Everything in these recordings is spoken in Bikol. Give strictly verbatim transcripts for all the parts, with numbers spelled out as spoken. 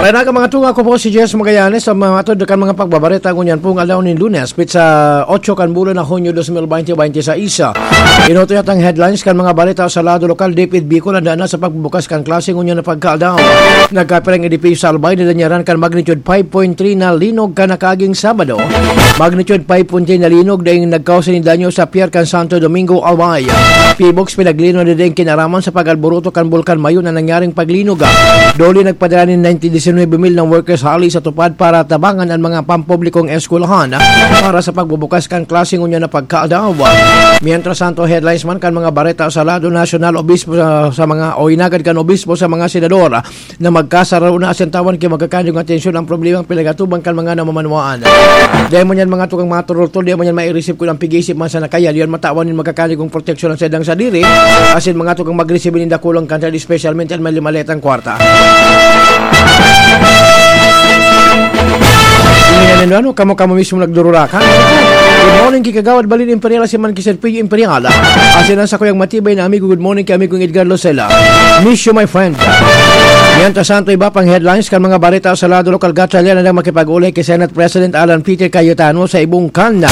Kaya nga mga tunga ko po si Jess Magallanes sa mga matod kan mga pagbabareta ngunyan pong aldaw nin Lunes, petsa otso kan bulan na Hunyo dos mil baynte baynte sais. Inutoy atang headlines kan mga bareta sa lado lokal, dapit Bicol, handa na sa pagbubukas kan klase ngunyan na pagkaaldaw. Nagkapirang edipisyo sa Albay na danyaran kan magnitude five point three na linog kan nakaaging Sabado. Magnitude five point three na linog daing nagkausa nin danyo sa Pier kan Santo Domingo, Albay. Pibox pinaglino na daing kinaraman sa pag-alboroto kan Bulkan Mayon na nangyaring paglinog. Doli nagpadara nin ninety disinwebe mil na workers hali sa tupad para tabangan an mga pampublikong eskwelahan para sa pagbubukas kan klase ngunyan na pagkaadaw. Mientras tanto, headlines man kan mga bareta sa lado nasyonal, obispo sa, sa mga o inagad kan obispo sa mga senador na magkasararo na asin tawan ki magkakanyo nga atensyon ang problemang pinagatuban kan mga namamanwaan. Dahil mo niyan mga tukang maturultol, dahil mo niyan mairisip ko ng pig-iisip man sa nakaya, diyan matawan nin magkakanyo kong proteksyon ang sedang sadiri, asin mga tukang magresibi nin dakulang kantidad, espesyalmente ang malimaletang kwarta. Hindi na nila, ano, kamo-kamo mismo nagdururakan. Good morning, Kikagawad Balin Imperial, si Man Kiser Piyo Imperial. Asin ang sakuyang matibay na amigo, good morning kay amigong Edgar Losela. Miss you, my friend. Mientras tanto, iba pang headlines kan mga bareta sa lado lokal, Gatchalian na makipag-ulay kay Senate President Alan Peter Cayetano sa Ibungkan na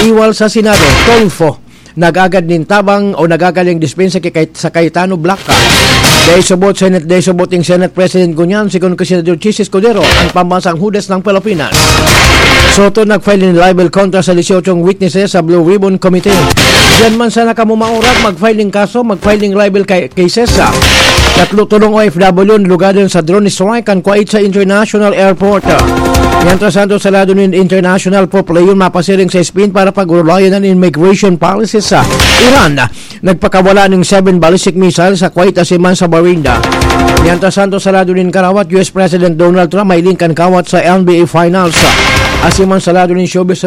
iwal sa Senado, Tulfo. Nag-agad nin tabang o nag-agad ning dispensa kay, kay, sa Cayetano Black. Dai subot Senate, dai subot ning Senate President ngunyan, sigon kay Senador Chiz Escudero, ang pambansang Hudas ng Pilipinas. Soto nag-file nin libel kontra sa dieciocho witnesses sa Blue Ribbon Committee. Diyan man sana kamo maurag, mag-file ning kaso, mag-file ning libel kay, cases sa tatlo, tulong O F W, lugadan sa drone strike kan Kuwait sa International Airport. Mientras tanto, sa lado nin international, Pope Leon mapasiring sa Spain para pag-urulayan an immigration policy sa Iran. Nagpakawala ning seven ballistic missiles sa Kuwait asin man sa Bahrain. Mientras tanto, sa lado nin karawat, U S President Donald Trump mahiling kan kawat sa N B A Finals. Asin man sa lado nin showbiz,